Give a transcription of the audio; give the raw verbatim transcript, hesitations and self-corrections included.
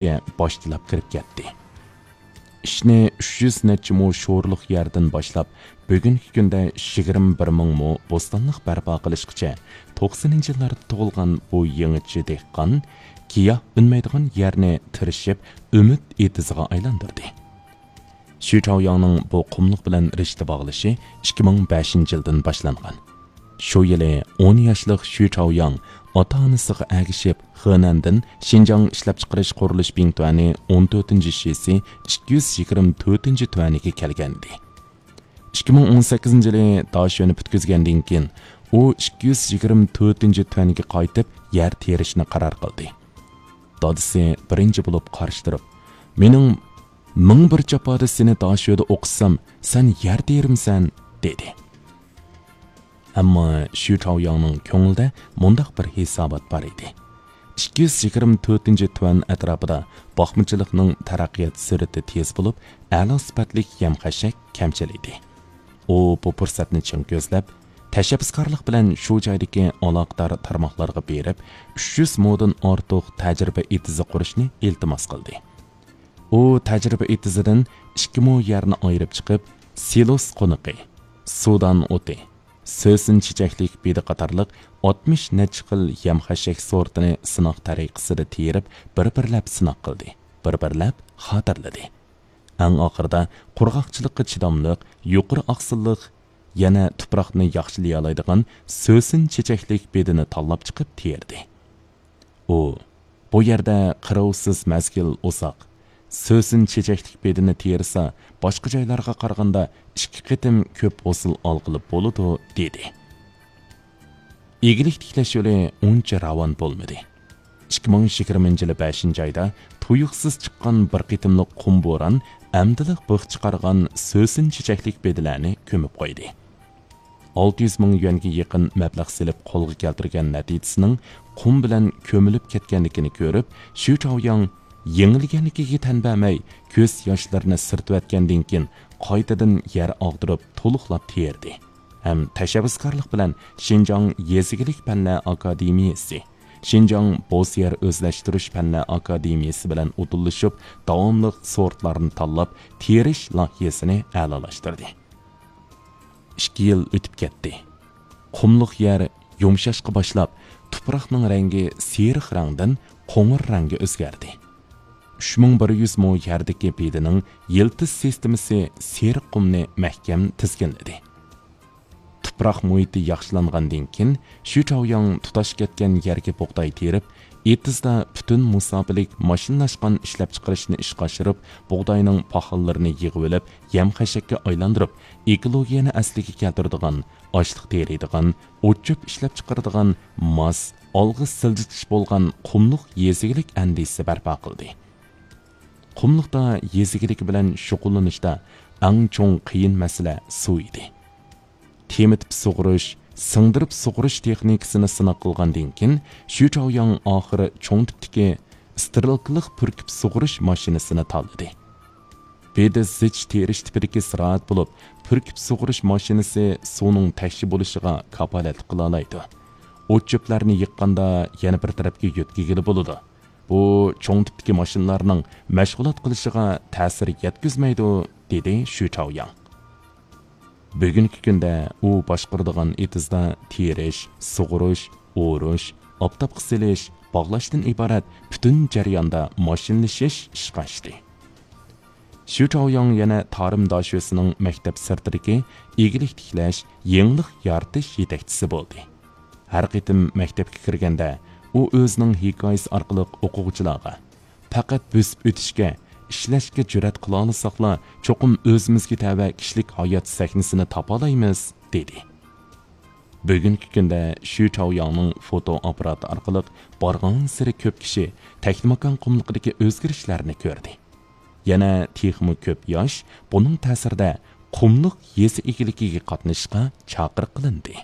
باشچىلاپ كىرىپ كەتتى. ئىشنى ئۈچ يۈز نەچچە مو شورلۇق يەردىن باشلاپ، بۈگۈنكى كۈندە يىگىرمە بىر مىڭ مو بوستانلىق بەرپا قىلىشقىچە توقسىنىنچى يىللاردا تۇغۇلغان بۇ يېڭىچە دېھقان گىياھ ئۈنمەيدىغان يەرنى تىرىشىپ ئۈمىد ئېتىزىغا ئايلاندۇردى. شۈ چاۋياڭنىڭ بۇ قۇملۇق بىلەن رىشتە باغلىشى ئىككى مىڭ بەشىنچى يىلدىن باشلانغان. شۇ يىلى ئون ياشلىق شۈ چاۋياڭ ئاتا-ئانىسىغا ئەگىشىپ، خېنەندىن شىنجاڭ ئىشلەپچىقىرىش قۇرۇلۇش بىڭتۈەنى ئون تۆتىنچى شىسى ئىككى يۈز يىگىرمە تۆتىنچى تۈەنىگە كەلگەنىدى. ئىككى مىڭ ئون سەككىزىنچى يىلى داشۆنى پۈتكۈزگەندىن كېيىن، ئۇ ئىككى يۈز يىگىرمە تۆتىنچى تۈەنگە قايتىپ، يەر تېرىشنى قارار قىلدى. دادىسى بىرىنچى بولۇپ قارشى تۇرۇپ، مېنىڭ مىڭ بىر جاپادا سېنى داشۆدە ئوقۇتسام، سەن يەر تېرىمسەن، دېدى. ئەمما شۈ چاۋياڭنىڭ كۆڭلىدە مۇنداق بىر ھېسابات بار ئىدى. ئىككى يۈز يىگىرمە تۆتىنچى تۈەن ئەتراپىدا باقمىچىلىقنىڭ تەرەققىيات سۈرئىتى تېز بولۇپ، ئەلا سۈپەتلىك يەم-خەشەك كەمچىل ئىدى. ئۇ بۇ پۇرسەتنى چىڭ كۆزلەپ، تەشەببۇسكارلىق بىلەن شۇ جايدىكى ئالاقىدار تارماقلارغا بېرىپ، ئۈچ يۈز مودىن ئارتۇق تەجرىبە ئېتىزى قۇرۇشنى ئىلتىماس قىلدى. ئۇ تەجرىبە ئېتىزىدىن ئىككى مو يەرنى ئايرىپ چىقىپ، سىلوس قونىقى، سۇدان ئوتى، سۆسۈن چېچەكلىك بېدە قاتارلىق ئاتمىش نەچچە خىل يەم-خەشەك سورتىنى سىناق تەرىقىسىدە تېرىپ، بىر-بىرلەپ سىناق قىلدى، بىر-بىرلەپ خاتىرىلىدى. ئەڭ ئاخىرىدا قۇرغاقچىلىققا چىداملىق، يۇقىرى ئاقسىللىق، يەنە تۇپراقنى ياخشىلىيالايدىغان سۆسۈن چېچەكلىك بېدىنى تاللاپ چىقىپ تېرىدى. ئۇ، بۇ يەردە قىروۋسىز مەزگىل ئۇزاق، سۆسۈن چېچەكلىك بېدىنى تېرىسا، باشقا جايلارغا قارىغاندا ئىككى قېتىم كۆپ ھوسۇل ئالغىلى بولىدۇ، دېدى. ئىگىلىك تىكلەش يولى ئۇنچە راۋان بولمىدى. ئىككى مىڭ يىگىرمىنچى يىلى بەشىنچى ئايدا تۇيۇقسىز چىققان بىر قېتىملىق قۇم بوران ئەمدىلا بىخ چىقارغان سۆسۈن چېچەكلىك بېدىلەرنى كۆمۈپ قويدى. ئالتە يۈز مىڭ يۈەنگە يېقىن مەبلەغ سېلىپ قولغا كەلتۈرگەن نەتىجىسىنىڭ قۇم بىلەن كۆمۈلۈپ كەتكەنلىكىنى كۆرۈپ، شۈ چاۋياڭ يېڭىلگەنلىكىگە تەن بەرمەي، كۆز ياشلىرىنى سۈرتۈۋەتكەندىن كېيىن، قايتىدىن يەر ئاغدۇرۇپ، تولۇقلاپ تېرىدى ھەم تەشەببۇسكارلىق بىلەن شىنجاڭ يېزا ئىگىلىك پەنلەر ئاكادېمىيىسى، شىنجاڭ بوز يەر ئۆزلەشتۈرۈش پەنلەر ئاكادېمىيىسى بىلەن ئۇدۇللىشىپ، داۋاملىق سورتلارنى تاللاپ تېرىش لايىھەسىنى ئەلالاشتۇردى. ئىككى يىل ئۆتۈپ كەتتى. قۇملۇق يەر يۇمشاشقا باشلاپ، تۇپراقنىڭ رەڭگى سېرىق رەڭدىن قوڭۇر رەڭگە ئۆزگەردى. ئۈچ مىڭ بىر يۈز مو يەردىكى بېدىنىڭ يىلتىز سىستېمىسى سېرىق قۇمنى مەھكەم تىزگىنلىدى. تۇپراق مۇھىتى ياخشىلانغاندىن كېيىن، شۈ چاۋياڭ تۇتاش كەتكەن يەرگە بۇغداي تېرىپ، ئېتىزدا پۈتۈن مۇساپىلىك ماشىنىلاشقان ئىشلەپچىقىرىشنى ئىشقا ئاشۇرۇپ، بۇغداينىڭ پاخاللىرىنى يىغىۋېلىپ، يەم-خەشەككە ئايلاندۇرۇپ، ئېكولوگىيەنى ئەسلىگە كەلتۈرىدىغان، ئاشلىق تېرىيدىغان، ئوت-چۆپ ئىشلەپچىقىرىدىغان ماس، ئالغا سىلجىتىش بولغان قۇملۇق يېزا ئىگىلىك ئەندىزىسى بەرپا قىلدى. قۇملۇقتا يېزا ئىگىلىكى بىلەن شۇغۇللىنىشتا ئەڭ چوڭ قىيىن مەسىلە سۇ ئىدى. تېمىتىپ سۇغۇرۇش، سىڭدۈرۈپ سۇغۇرۇش تېخنىكىسىنى سىناق قىلغاندىن كېيىن، شۈ چاۋياڭ ئاخىرى چوڭ تىپتىكى سترېلكىلىق پۈركۈپ سۇغۇرۇش ماشىنىسىنى تاللىدى. بېدە زىچ تېرىش تىپىدىكى زىرائەت بولۇپ، پۈركۈپ سۇغۇرۇش ماشىنىسى سۇنىڭ تەكشى بولۇشىغا كاپالەتلىك قىلالايدۇ. ئوت-چۆپلەرنى يىغقاندا يەنە بىر تەرەپكە يۆتكىگىلى بولىدۇ. بۇ چوڭ تىپتىكى ماشىنىلارنىڭ مەشغۇلات قىلىشىغا تەسىر يەتكۈزمەيدۇ، دېدى شۈ چاۋياڭ. بۈگۈنكى كۈندە ئۇ باشقۇرىدىغان ئېتىزدا تېرىش، سۇغۇرۇش، ئورۇش، ئاپتاپقا سېلىش، باغلاشتىن ئىبارەت پۈتۈن جەرياندا ماشىنىلىشىش ئىشقا ئاشتى. شۈ چاۋياڭ يەنە تارىم داشۆسىنىڭ مەكتەپ سىرتىدىكى ئىگىلىك تىكلەش، يېڭىلىق يارىتىش يېتەكچىسى بولدى. ھەر قېتىم مەكتەپكە كىرگەندە، ئۇ ئۆزىنىڭ ھېكايىسى ئارقىلىق ئوقۇغۇچىلارغا، پەقەت بۆسۈپ ئۆتۈشكە، ئىشلەشكە جۈرئەت قىلالىساقلا، چوقۇم ئۆزىمىزگە تەۋە كىشىلىك ھايات سەھنىسىنى تاپالايمىز، دېدى. بۈگۈنكى كۈندە شۈ چاۋياڭنىڭ فوتو ئاپپاراتى ئارقىلىق بارغانسېرى كۆپ كىشى تەكلىماكان قۇملۇقىدىكى ئۆزگىرىشلەرنى كۆردى. يەنە تېخىمۇ كۆپ ياش بۇنىڭ تەسىرىدە قۇملۇق يېزا ئىگىلىكىگە قاتنىشىشقا چاقىرىق قىلىندى.